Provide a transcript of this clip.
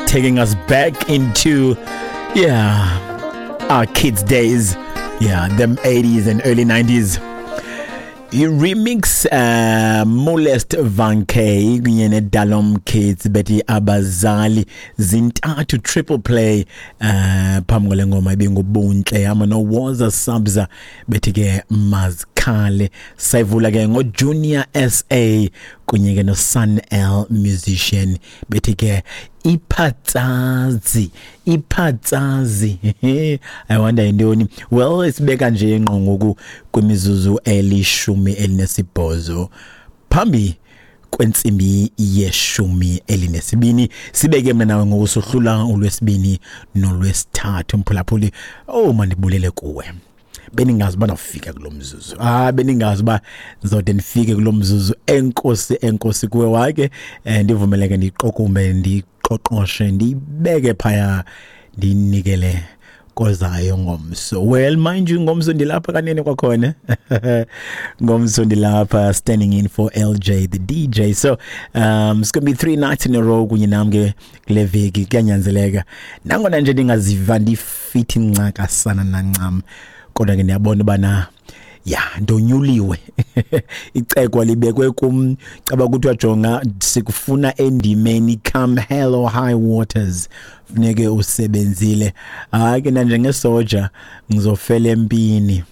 Taking us back into, yeah, our kids' days. Yeah, them 80s and early 90s. I-remix Molest Van K kunye neDalom Kids bethi Abazali, zintathu, triple play. Phambi kwale ngoma ibingubuntle hamba noWoza Sabza bethi ke Mazikhale. Sayivula ke ngoJunior SA kunye ke noSun L Musician bethi ke Iphatsazi, iphatsazi. I wonder yintoni. Well, isibeka nje ngqo ngoku kwimizuzu 18 phambi kwentsimbi ye-12. Sibeke mna nawe ngoku sohlula uLwesibini noLwesithathu. Mphulaphuli, oh, mandibulele kuwe. Beningazi uba ndawufika kulo mzuzu. Ah, beningazi uba ndizode ndifike kulo mzuzu. Enkosi, enkosi kuwe wake. Ndivumeleke ndiqokumbe, ndiqoqoshe, ndiyibeke phaya, ndiyinikele kozayo ngomso. Well, mind you, ngomso ndilapha kanene kwakhona. Ngomso ndilapha standing in for LJ the DJ. So it's going to be 3 nights in a row kunye nam ke kule veki, kuyanyanzeleka. Nangona nje ndingaziva ndifithi ncakasana nancam, kodwa ke ndiyabona ubana ya ndonyuliwe, icekwa libekwe kum, caba kuthiwa jonga, sikufuna endimeni, come hell or high waters funeke usebenzile. Hayi ke, nanjengesoja ngizofela empini.